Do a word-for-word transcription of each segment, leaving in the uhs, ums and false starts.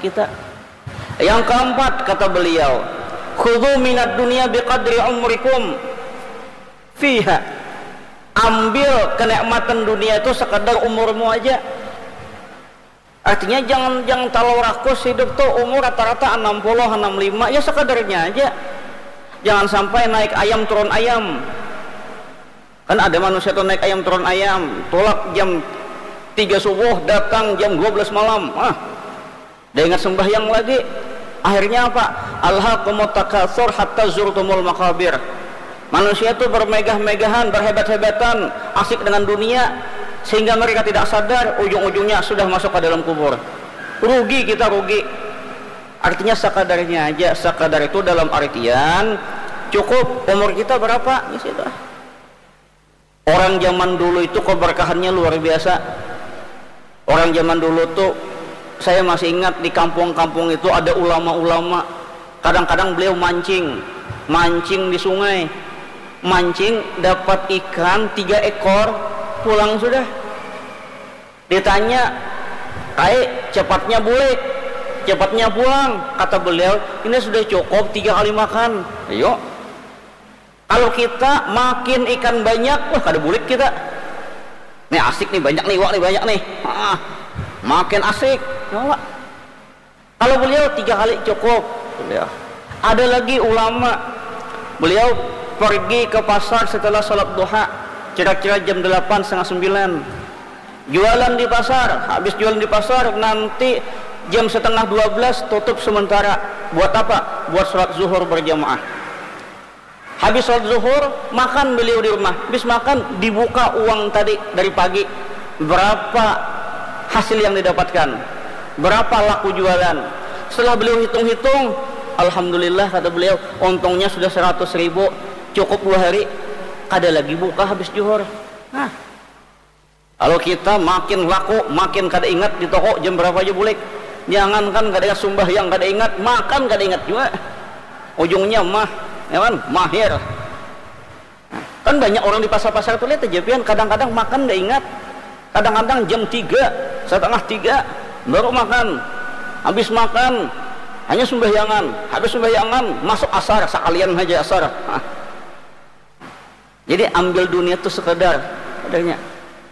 kita. Yang keempat, kata beliau, "Khudzu minad dunya biqadri umrikum fiha." Ambil kenikmatan dunia itu sekadar umurmu aja. Artinya jangan, jangan terlalu rakus hidup tuh, umur rata-rata enam puluh, enam lima, ya sekadarnya aja. Jangan sampai naik ayam turun ayam. Kan ada manusia tuh naik ayam turun ayam, tulak jam tiga subuh, datang jam dua belas malam. Ah, dia ingat sembahyang lagi. Akhirnya apa? "Alhaakumut takatsur hatta zurtumul maqabir." Manusia tuh bermegah-megahan, berhebat-hebatan, asik dengan dunia, sehingga mereka tidak sadar, ujung-ujungnya sudah masuk ke dalam kubur. Rugi kita, rugi. Artinya sekadarnya aja. Sekadar itu dalam artian cukup, umur kita berapa, ya sudah. Orang zaman dulu itu keberkahannya luar biasa. Orang zaman dulu tuh, saya masih ingat, di kampung-kampung itu ada ulama-ulama. Kadang-kadang beliau mancing, mancing di sungai. Mancing, dapat ikan tiga ekor, pulang sudah. Ditanya, "Kai, cepatnya bulik, cepatnya pulang." Kata beliau, "Ini sudah cukup tiga kali makan." Ayo. Kalau kita makin ikan banyak, wah, kada bulik kita. Nih asik nih, banyak nih, iwak nih, banyak nih. Ah, makin asik. Ya Allah. Kalau beliau tiga kali cukup. Beliau. Ada lagi ulama, beliau pergi ke pasar setelah sholat duha, kira-kira jam delapan, setengah sembilan. Jualan di pasar, habis jualan di pasar, nanti jam setengah dua belas tutup sementara. Buat apa? Buat sholat zuhur berjamaah. Habis sholat zuhur, makan beliau di rumah. Habis makan, dibuka uang tadi dari pagi. Berapa hasil yang didapatkan? Berapa laku jualan? Setelah beliau hitung-hitung, "Alhamdulillah," kata beliau, "untungnya sudah seratus ribu, cukup dua hari, kada lagi buka habis zuhur." Nah, kalau kita makin laku, makin kada ingat di toko jam berapa aja bulik. Jangankan kada ingat sumbahyang, kada ingat makan, kada ingat juga. Ujungnya mah, ya kan, mahir. Kan banyak orang di pasar-pasar tuh, lihat aja pian, kadang-kadang makan nggak ingat. Kadang-kadang jam tiga, setengah tiga baru makan. Habis makan, hanya sembahyangan. Habis sembahyangan, masuk asar, sekalian aja asar. Jadi ambil dunia tuh sekedar adanya.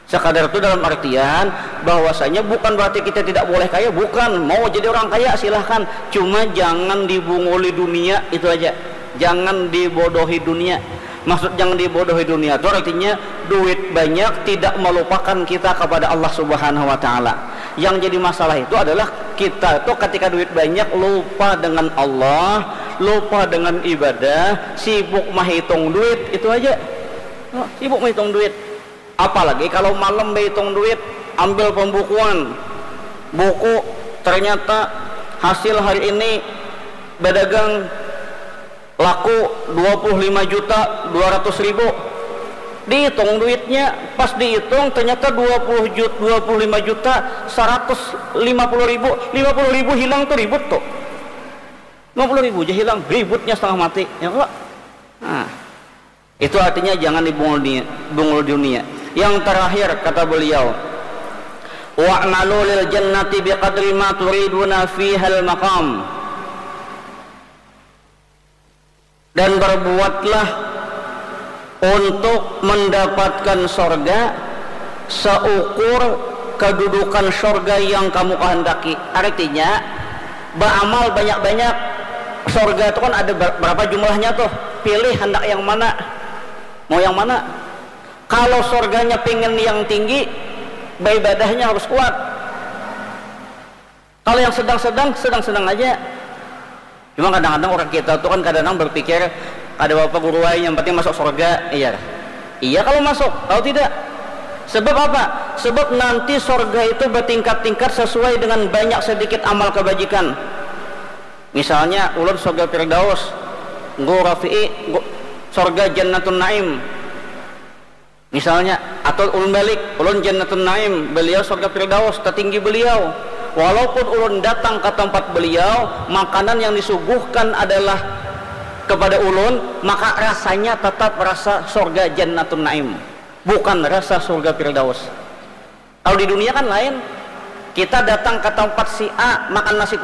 Sekadar itu dalam artian bahwasanya bukan berarti kita tidak boleh kaya, bukan. Mau jadi orang kaya, silahkan. Cuma jangan dibunguli dunia, itu aja. Jangan dibodohi dunia. Maksud jangan dibodohi dunia itu artinya duit banyak tidak melupakan kita kepada Allah Subhanahu wa Ta'ala. Yang jadi masalah itu adalah kita tuh ketika duit banyak lupa dengan Allah, lupa dengan ibadah, sibuk menghitung duit, itu aja. Oh, sibuk menghitung duit. Apalagi kalau malam berhitung duit, ambil pembukuan, buku, ternyata hasil hari ini berdagang laku dua puluh lima juta dua ratus ribu. Dihitung duitnya, pas dihitung ternyata dua puluh juta, dua puluh lima juta seratus lima puluh ribu. Lima puluh ribu hilang tuh ribut tuh. Lima puluh ribu aja hilang, ributnya setengah mati. Ya enggak? Nah, itu artinya jangan dibungul dunia, bungul dunia. Yang terakhir, kata beliau, "Wa'malu lil jannati biqadri ma turiduna fihal maqam." Dan berbuatlah untuk mendapatkan sorga seukur kedudukan sorga yang kamu kehendaki. Artinya, beramal banyak-banyak. Sorga itu kan ada ber-, berapa jumlahnya tuh? Pilih hendak yang mana. Mau yang mana? Kalau sorganya pengen yang tinggi, beribadahnya harus kuat. Kalau yang sedang-sedang, sedang-sedang aja. Cuma kadang-kadang orang kita tuh kan kadang-kadang berpikir, "Kada apa-apa guru ai, yang penting masuk sorga." Iya. Iya kalau masuk, tahu tidak? Sebab apa? Sebab nanti sorga itu bertingkat-tingkat sesuai dengan banyak sedikit amal kebajikan. Misalnya, ulun sorga Firdaus, Guru Rafi'i, gu-, sorga Jannatun Naim. Misalnya, atau ulun balik, ulun Jannatun Naim, beliau sorga Firdaus, tertinggi beliau. Walaupun ulun datang ke tempat beliau, makanan yang disuguhkan adalah kepada ulun, maka rasanya tetap rasa sorga Jannatun Naim, bukan rasa sorga Firdaus. Kalau di dunia kan lain, kita datang ke tempat si A, makan nasi